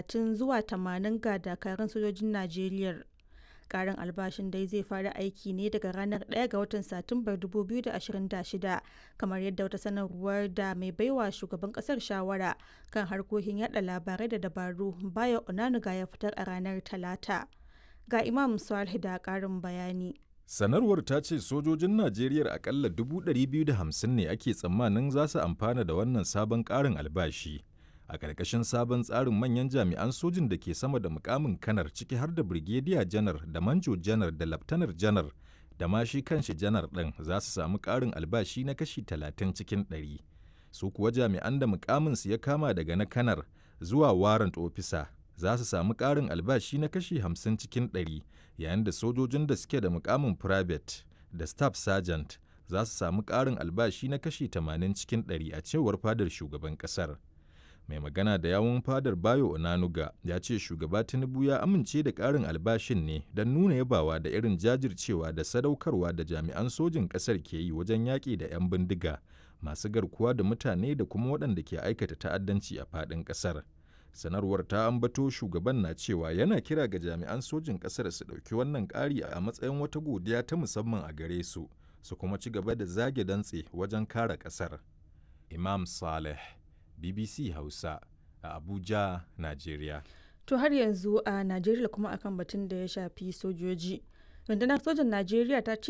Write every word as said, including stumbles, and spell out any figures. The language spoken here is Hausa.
talatin zuwa tamanin ga dakarun sojojin Najeriya. Karin albashin dai zai fara aiki ne daga ranar ɗaya ga watan Satumbar dubu biyu da ashirin da shida, kamar yadda wata sanarwar da mai baiwa shugaban kasar shawara kan harkokin yada labarai da dabaru, Bayo Onanuga, ya fitar a ranar Talata. Ga Imam Salih da karin bayani. Sanarwar ta ce sojojin Najeriya akalla dubu ɗari biyu da hamsin ne ake tsammanin za su amfana da wannan sabon ƙarin albashi. A ƙarƙashin sabon tsarin, manyan jami'an sojin da ke sama da mukamin kanar, ciki har da Birgediya Janar da Manjo Janar da Laftanar Janar da ma shi kanshi Janar ɗin, za su samu ƙarin albashi na kashi talatin cikin ɗari. Su kuwa jami'an da mukaminsu ya kama daga na kanar zuwa warrant officer za su samu ƙarin albashi na kashi hamsin cikin ɗari, yayin da sojojin da suke da mukamin private da staff sergeant za su samu ƙarin albashi na kashi tamanin cikin ɗari, a cewar fadar shugaban ƙasar. Mai magana da yawun fadar, Bayo Onanuga, ya ce Shugaba Tinubu ya amince da ƙarin albashin ne don nuna yabawa da irin jajircewa da sadaukarwa da jami'an sojin ƙasar ke yi wajen yaƙi da 'yan bindiga masu garkuwa da mutane da kuma waɗanda ke aikata ta'addanci a faɗin ƙasar. Sanarwar ta ambato shugaban na cewa yana kira ga jami'an sojin ƙasar su ɗauki wannan ƙari a matsayin wata godiya ta musamman a gare su, su kuma ci gaba da zage dantse wajen kare ƙasar. Imam Saleh, B B C Hausa, a Abuja, Najeriya. To, har yanzu a Najeriya kuma akan batun da ya shafi sojoji. Rundunar sojan Najeriya ta ce